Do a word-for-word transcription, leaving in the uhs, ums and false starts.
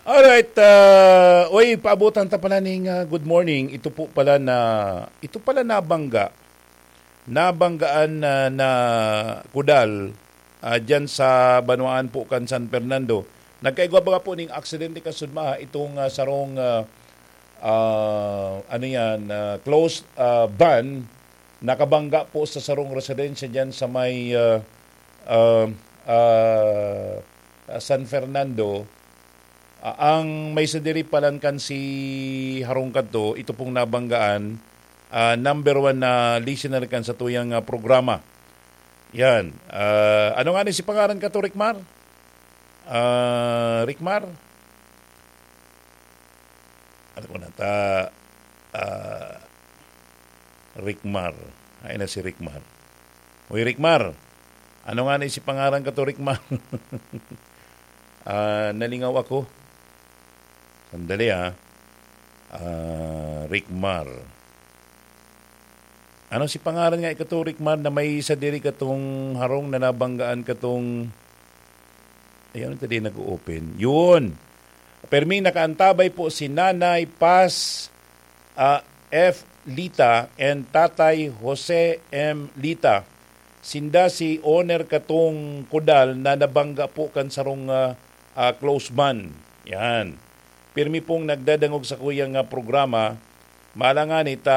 Alright, ah, oy, paabutan ta pala ning, ah, good morning. Ito po pala na, ito pala nabangga, nabanggaan na, na kudal, ah, dyan sa banwaan po kan San Fernando. Nagkaigwa baga po ning aksidente kasudmaha itong, ah, sarong, ah, ah, ano yan, ah, closed, ah, van, nakabangga po sa sarong residensya dyan sa may, ah, ah, ah, San Fernando. Ah, ang may sadiri palan kan si harong kadto, ito pong nabanggaan, ah, number one na listener kan sa tuyang, ah, programa. Yan. Ah, ano nga ni si pangaran ka to, Rikmar? Ah, Rikmar? Ano ko na ta? Ah, Rikmar. Ay na si Rikmar. Uy, Rikmar. Ano nga ni si pangaran ka to, Rikmar? Ah, nalingaw ako. Sandali, ah. Ah, Rikmar. Ano si pangaran nga ikato, Rikmar, na may sadiri katong harong na nabanggaan katong, ayun, ito din nag-o-open. Yun. Perming nakaantabay po si Nanay Paz, ah, F. Lita and Tatay Jose M. Lita. Sinda si owner katong kudal na nabangga po kan sarong, ah, ah, close van. Yan. Pirmi pong nagdadangog sa kuyang, ah, programa. Malangan ita